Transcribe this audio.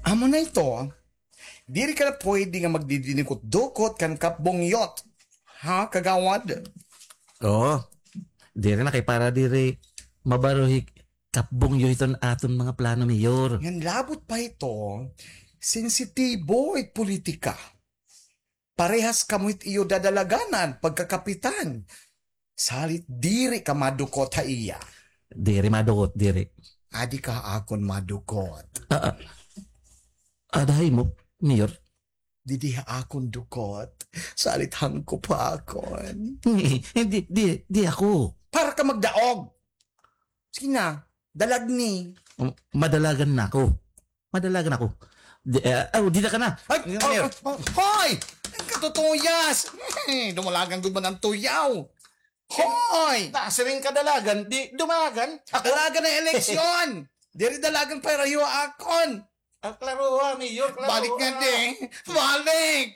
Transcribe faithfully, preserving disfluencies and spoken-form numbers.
Amo na ito, diri ka na pwede nga magdidinikot-dukot kan Kap Bungyot. Ha, kagawad? Oo. Diri na kay para diri mabaro hi Kap Bungyot iton aton mga plano, Mayor. Ngan labot pa ito, sensitibo it politika. Parehas kamo it iyo dadalaganan pagkakapitan. Salit diri ka madukot ha iya. Diri madukot, diri. Adi ka akon madukot. Ah, ah. Ada ha imo, Mayor? Didi ha akon dukot. Salit hangkop ha akon. Di, di, di ako. Para ka magdaog. Sige na, dalagni. Um, madalagan na ako. Madalagan ako. Di, eh, oh, dida ka na. Ay, Mayor. Oh, oh, hoy! Ang katutuyas! Dumalagan gud man an tuyaw. Hoy! Nasiring ka dalagan, di dumalagan. Ako? Dalagan an eleksyon! Diri dalagan para iyo akon. Ah, klaroha, Mayor, klaroha. Balik nga di. Balik!